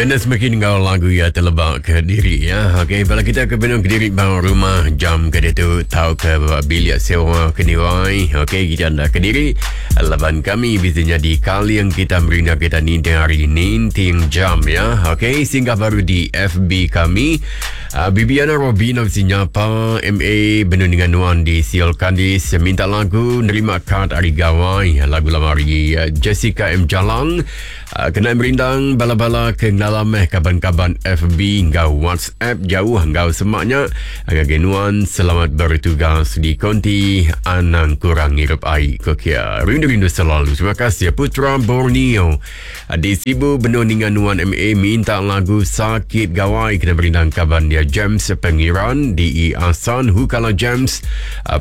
Kenneth makin enggau lagu iya teleba ke diri ya. Okey, bala kita ke benung kediri ba rumah jam ke ditu tauka ba bilik sewa ke niwai. Okey, kita enda kediri laban kami bisi nyadi kaling kita merinda kita ninting hari ninting jam ya. Okey, singgah baru di FB kami. Uh, Bibiana Robina bisi nyapa MA benung dengan nuan di Siol Kandis minta lagu nerima kad hari gawai lagu lama hari uh, Jessica M Jalang Kena merindang bala-bala ke ngelala meh kaban-kaban FB enggau WhatsApp jauh enggau semak nya. Ngagai nuan selamat bertugas di konti anang kurang ngirup ai ko kia. Rindu-rindu selalu. Terima kasih Putra Borneo. Di Sibu benung ninga nuan MA minta lagu Sakit Gawai kena merindang kaban dia James Pengiran di Asan Hukala James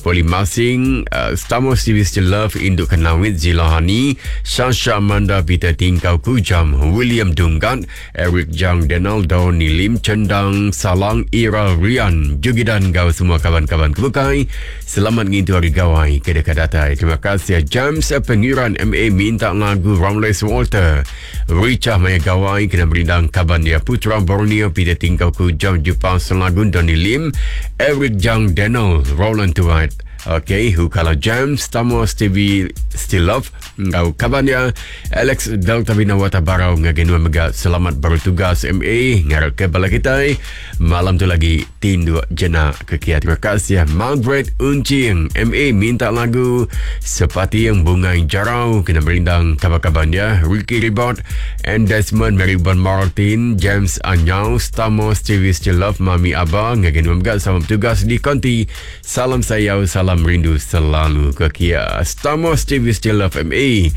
Poli Masing Stamos TV Still Love Induk Kenawit Zilahani Sasha Amanda Peter Tingkau Kujam William Dunggat Eric Jang Denaldo Nilim Chendang Salang Ira Rian Jugidan enggau semua kaban-kaban ke bukai selamat ngintu hari gawai ke deka datai. Terima kasih James Pengiran MA minta lagu Ramles Walter Richah maya gawai kena merindang kaban dia Putra Borneo Peter Tingkau Kujam Jupa Selagun Donny Lim Eric Jang Daniel Roland Tuat Okay, Hukala James, Tamos TV Still Love enggau kaban dia Alex Delta Binawata Barau ngagai nuan mega selamat bertugas MA ngarap ke bala kitai malam tu lagi tinduk jenak ke kia. Terima kasih Margaret Uncing MA minta lagu Sepating Bungai Jarau kena merindang kaban-kaban dia Ricky Ribot and Desmond Mary Bon Martin James Anyau Stamos TV Still Love Mami Aba ngagai nuan mega selamat bertugas di konti Salam sayau, salam rindu selalu ke kia. Stamos TV Still Love MA.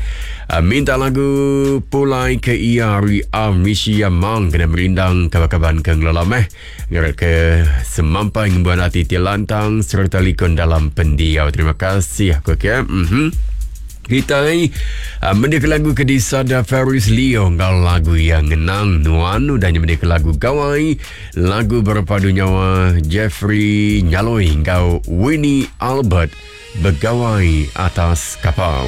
Ah, minta lagu Pulai ke Ia ari Amisia Mang kena merindang kaban-kaban ke ngelola meh. Ngarap ke semampai ngembuan ati ti lantang sereta likun dalam pendiau. Terima kasih aku kia. Mm-hmm. Kitai uh, mendika lagu ke disada Ferris Leo enggau lagu yang ngenang nuan udah nya mendika lagu Gawai Lagu berpadu nyawa Jeffrey Nyaloi enggau Winnie Albert begawai atas kapal.